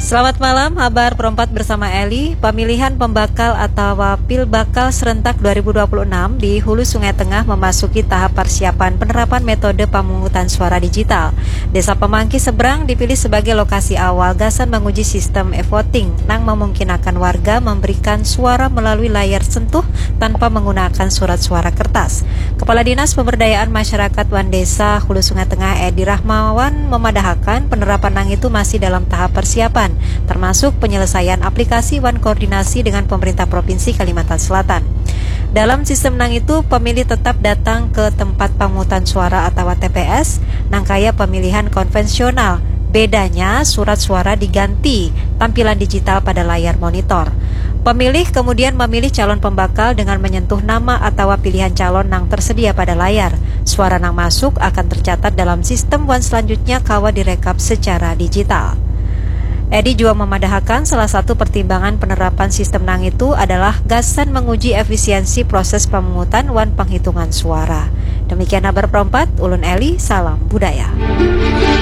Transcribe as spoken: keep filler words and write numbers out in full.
Selamat malam, habar perempat bersama Eli. Pemilihan pembakal atau pil bakal serentak dua ribu dua puluh enam di Hulu Sungai Tengah memasuki tahap persiapan penerapan metode pemungutan suara digital. Desa Pemangki Seberang dipilih sebagai lokasi awal gasan menguji sistem e-voting nang memungkinkan warga memberikan suara melalui layar sentuh tanpa menggunakan surat suara kertas. Kepala Dinas Pemberdayaan Masyarakat wan Desa Hulu Sungai Tengah Edi Rahmawan memadahakan penerapan nang itu masih dalam tahap persiapan, termasuk penyelesaian aplikasi wan koordinasi dengan pemerintah Provinsi Kalimantan Selatan. Dalam sistem nang itu, pemilih tetap datang ke tempat pemungutan suara atau T P S, nang kaya pemilihan konvensional. Bedanya, surat suara diganti tampilan digital pada layar monitor. Pemilih kemudian memilih calon pembakal dengan menyentuh nama atau pilihan calon nang tersedia pada layar. Suara nang masuk akan tercatat dalam sistem wan selanjutnya kawa direkap secara digital. Edi juga memadahakan salah satu pertimbangan penerapan sistem nang itu adalah gasan menguji efisiensi proses pemungutan wan penghitungan suara. Demikian habar perempat, ulun Eli, salam budaya.